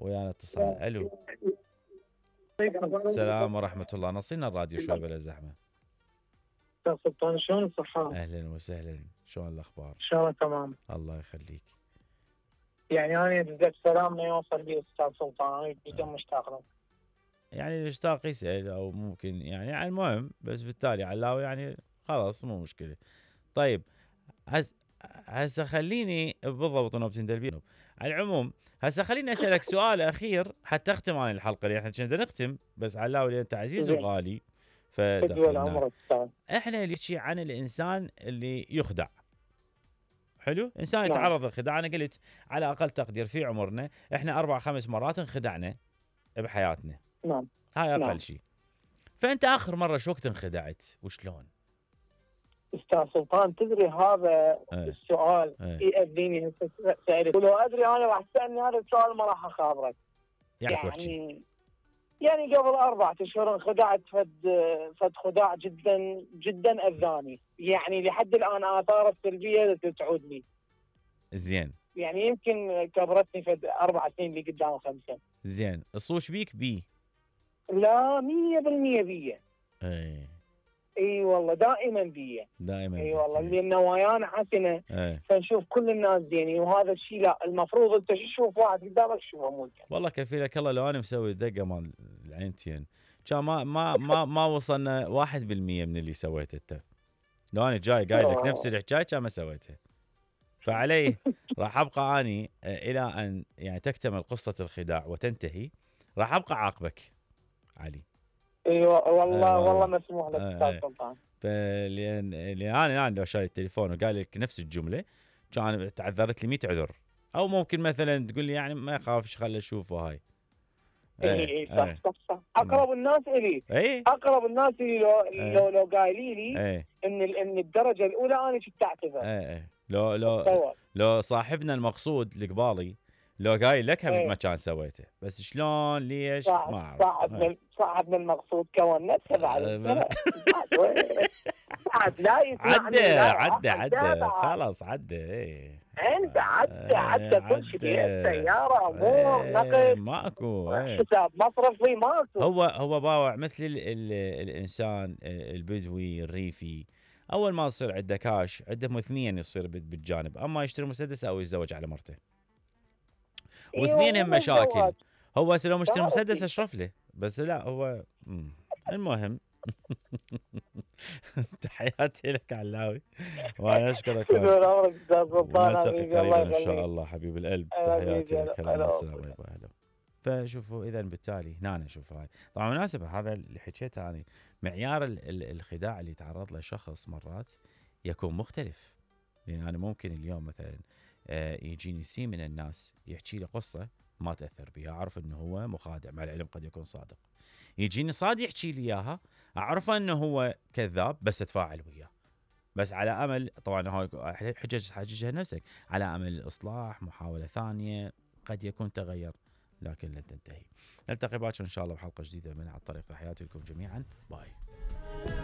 ويانا اتصال. الو السلام ورحمة الله. نصينا الراديو شوي بلا زحمة. استاذ سلطان شلون الصحة؟ اهلا وسهلا، شلون الاخبار؟ ان شاء الله تمام. الله يخليك. يعني انا بدي سلام ما يوصل لي استاذ سلطان، انا جدا مشتاق لك. يعني المشتاق يسأل او ممكن يعني المهم، بس بالتالي علاوي يعني خلاص مو مشكلة. طيب هسه خليني بالضبط نوبتين دلبي. على العموم هسه خليني اسالك سؤال اخير حتى اختم عن الحلقه، اللي احنا كنا نختم بس علاوي لان انت عزيز وغالي فدخلنا. احنا نحكي عن الانسان اللي يخدع. حلو، انسان يتعرض للخداع. انا قلت على اقل تقدير في عمرنا احنا 4-5 مرات انخدعنا بحياتنا. نعم، هاي اقل شيء. فانت اخر مره شو وقت انخدعت وشلون؟ استاذ سلطان تدري هذا السؤال يأذيني هسه سألت، ولو ادري انا راح تسالني هذا السؤال ما راح اخابرك. يعني قبل 4 أشهر انخدعت فد خداع جدا جدا اذاني، يعني لحد الان اثاره السلبيه تعود لي. زين. يعني يمكن كبرتني فد 4 سنين اللي قدام 5. زين، الصوش بيك بي؟ لا 100% بيه. اي والله دائما بيه. اي والله لان نوايانا حسنه. فنشوف كل الناس زينين، وهذا الشيء لا المفروض انت تشوف واحد قدامك تشوفه مو زين. والله كفيلك الله لو انا مسوي دقه مال العينتين كان ما وصلنا 1% من اللي سويته انت. لو انا جاي قايل لك نفس الحكايه كان ما سويتها. فعليه راح ابقى اني الى ان يعني تكتمل قصه الخداع وتنتهي، راح ابقى عاقبك علي. ايوه والله مسموح لك استاذ سلطان. لان انا لو شايل التليفون وقال لك نفس الجمله كان تعذرت لي 100 عذر. او ممكن مثلا تقول لي يعني ما يخافش خلي اشوفه هاي. اي صح. اقرب الناس الي. اقرب الناس الي لو قايلين لي ان الدرجه الاولى انا كنت اعتذر. لو صاحبنا المقصود القبالي لو قايل لك ما كان سويته، بس شلون ليش ما اعرف. صاحبنا المقصود كون نفسه بعد لا يسمعني. عدى خلاص عدى. انت عدى كل شيء، سياره امور نقل ماكو حساب مصرفي ماكو. هو باوع مثل الانسان البدوي الريفي، اول ما يصير عنده كاش عنده اثنين يصير بالجانب، اما يشتري مسدس او يتزوج على مرته. واثنين هم مشاكل. هو لو مشتري مسدس اشرف له، بس لا هو المهم. تحياتي لك علاوي وانا اشكرك. نلتقي قريبا ان شاء الله حبيب القلب. تحياتي لك. السلام عليكم. اهلا. فشوفوا اذا بالتالي هنا نشوف هاي طبعا مناسبه هذا اللي حكيته انا. معيار الخداع اللي يتعرض له شخص مرات يكون مختلف. يعني انا ممكن اليوم مثلا يجيني سي من الناس يحكي لي قصه ما تاثر بها، اعرف انه هو مخادع، مع العلم قد يكون صادق. يجيني صاد يحكي لي اياها اعرف انه هو كذاب بس اتفاعل وياه، بس على امل طبعا هاي حججها نفسك، على امل الاصلاح، محاوله ثانيه قد يكون تغير لكن لن تنتهي. نلتقي باكر ان شاء الله بحلقه جديده من على الطريق. تحياتي لكم جميعا. باي.